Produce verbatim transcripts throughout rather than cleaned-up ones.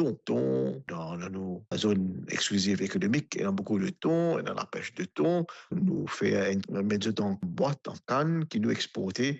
ton. Ton, dan, dan nou zone exclusive économique, ena boukou de ton, ena lapes de ton. Nou fer enn, met zot an bwat, an kann, ki nou exporte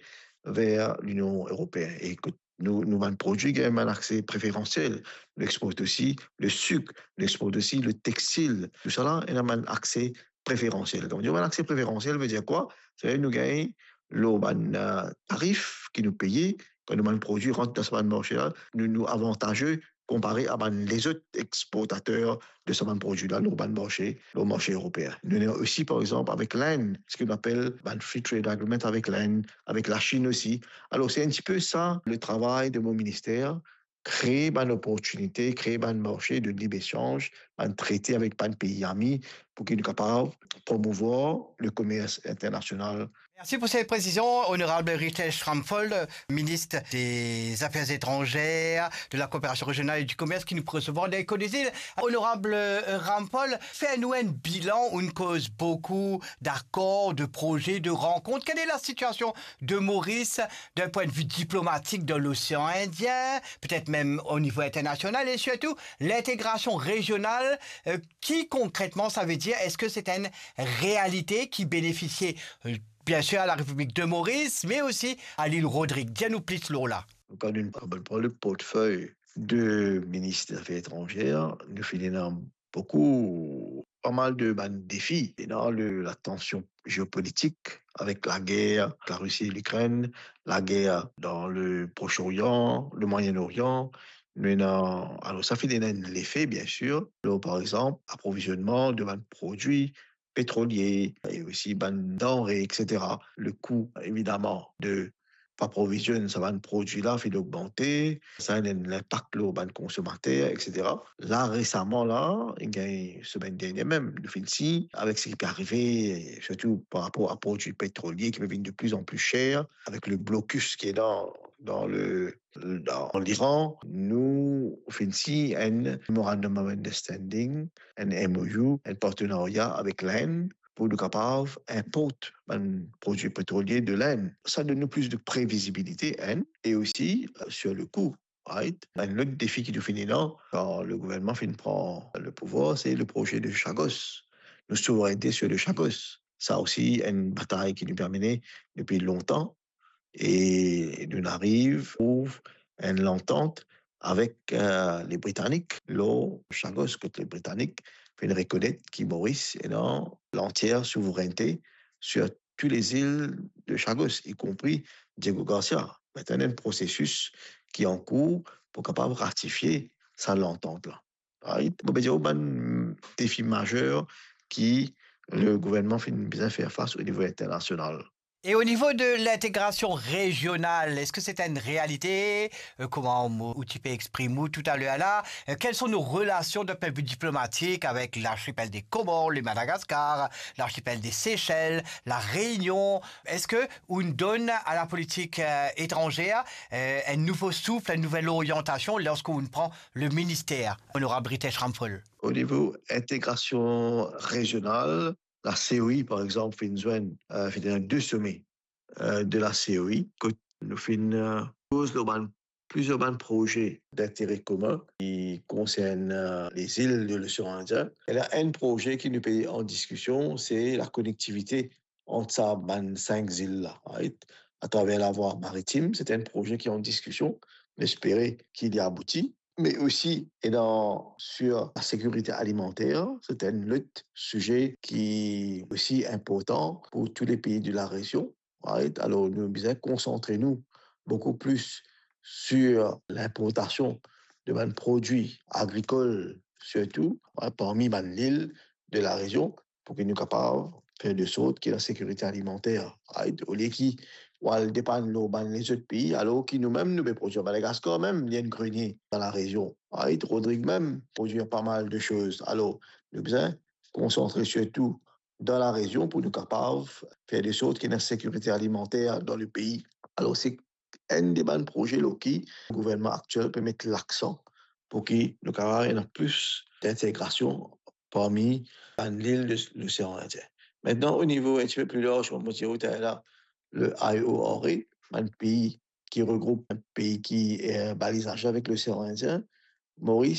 ver Linion Eropeen. E kot nou, nou bann prodwi gagn bann akse preferansiel. Nou export osi le sik, nou export osi le textil. Tousala, ena bann akse preferansiel. Kan nou dir bann akse preferansiel, vedir kwa? Savedir nou gagn lor bann, eh, tarif ki nou peye, kan nou bann prodwi rant dan sa bann marse la, nou, nou avantaze konpare a bann lezot exportater de sa bann prodwi la lor bann marse, lor marse eropeen. Nou ena osi, par exanp, avek Lind, seki nou apel bann free trade agreement avek Lind, avek Lasinn osi. Alor, se enn tipe sa, le travay de mo minister, kree bann loportinite, kree bann marse de libre-echanj, bann trete avek bann pei ami, pou ki nou kapav promouvwar le komers internasional. Merci pour ces précisions, honorable Ritesh Ramphal, ministre des Affaires étrangères, de la Coopération régionale et du Commerce qui nous recevra dans Echo des Îles. Honorable, euh, Ramphal, fer nou enn bilan, on cause beaucoup d'accords, de projets, de rencontres. Quelle est la situation de Maurice d'un point de vue diplomatique dans l'océan Indien, peut-être même au niveau international, et surtout l'intégration régionale, euh, qui concrètement ça veut dire? Est-ce que c'est une réalité qui bénéficie, euh, bien sûr à la République de Maurice, mais aussi à l'île Rodrigue? Dir nou plis lor la. Kan nou pran le portefeuille de ministre des Affaires étrangères, nou finn ena boukou, pa mal de bann defi. Ena le, la tension géopolitique avec la guerre avec la Russie et l'Ukraine, la guerre dans le Proche-Orient, le Moyen-Orient. Nou ena, alor sa finn ena enn lefe, bien sûr, lor, par exanp, aprovizionman de bann prodwi petrolie e osi bann danre, et cetera. Le kou, evidaman, de pa provizionn sa bann prodwi la finn ogmante, sa ena enn linpak lor bann konsomater, et cetera. La, resaman la, gagn semenn dernie mem, nou finn sign avek seki pe arive, sirtou par rapor a prodwi petrolie ki pe vinn de plus en plus cher, avek le blocus ki ena dan le, dan l'Iran, nou finn sign enn Memorandum of Understanding, enn M O U, enn partenarya avek Lind, pou nou kapav inport bann prodwi petrolie de Lind. Sa donn nou plis de previzibilite, enn, e osi, euh, sur le kou, right? Enn lot defi ki nou finn ena, kan le gouvernman finn pran le pouvwar, se le proze de Chagos, nou souverennte sur le Chagos. Sa osi enn batay ki nou pe mene depi lontan, e nou ariv trouv enn lantant avek, euh, le Britanik lor Chagos, kot le Britanik finn rekonet ki Moris ena lantier souverennte sur tou lezil de Chagos, y compris Diego Garcia. Aster ena enn prosesis ki ankour pou kapav ratifie sa lantant la. Right? Mo pe dir ou bann defi mazer ki le gouvernman finn bizin fer fas o nivo internasional. Et au niveau de l'intégration régionale, est-ce que c'est une réalité? Euh, kouma ou, ou ti pe exprim ou talor la, euh, quelles sont nos relations d'un point de vue diplomatique avec l'archipel des Comores, le Madagascar, l'archipel des Seychelles, la Réunion? Est-ce que on donne à la politique, euh, étrangère, euh, un nouveau souffle, une nouvelle orientation lorsqu'on prend le ministère, honorable Ritesh Ramphal? O nivo integrasion rezional, la C O I, par exanp, finn zwenn, euh, finn ena de some, euh, de la C O I, kot nou finn, euh, koz lor bann, plizier bann proze d'intere komin ki konsern, euh, lezil de l'Océan Indien. E la, enn proze ki nou pe an diskision, se la konektivite ant sa bann sink zil la, right? Atraver lavwa maritim, se enn proze ki an diskision. Nou espere ki li abouti. Me osi, e dan, sur la sekirite alimanter, se enn lot size ki osi inportan pou tou le pei de la rezion, right? Alor, nou bizin konsantre nou boukou plis sur linportasion de bann prodwi agrikol, sirtou, right, parmi bann lil de la rezion, pou ki nou kapav fer de sort ki la sekirite alimanter, right? Olie ki ou al depann lor bann lezot pei, alor ki nou mem, nou pe prodwir. Madagaskar mem, li enn grenie dan la rezion, right? Rodrig mem prodwir pa mal de soz. Alor, nou bizin konsantre sirtou dan la rezion pou nou kapav fer de sort ki ena sekirite alimanter dan le pei. Alor, se enn de bann proze lor ki gouvernman aktiel pe met laksan pou ki nou kapav ena plis d'integrasion parmi bann lil de l'Océan Indien. Aster, o nivo enn tipe pli larz, kouma mo dir ou talor la, le I O R A, bann pei ki regroup bann pei ki, eh, balizaze avek l'Océan Indien, Moris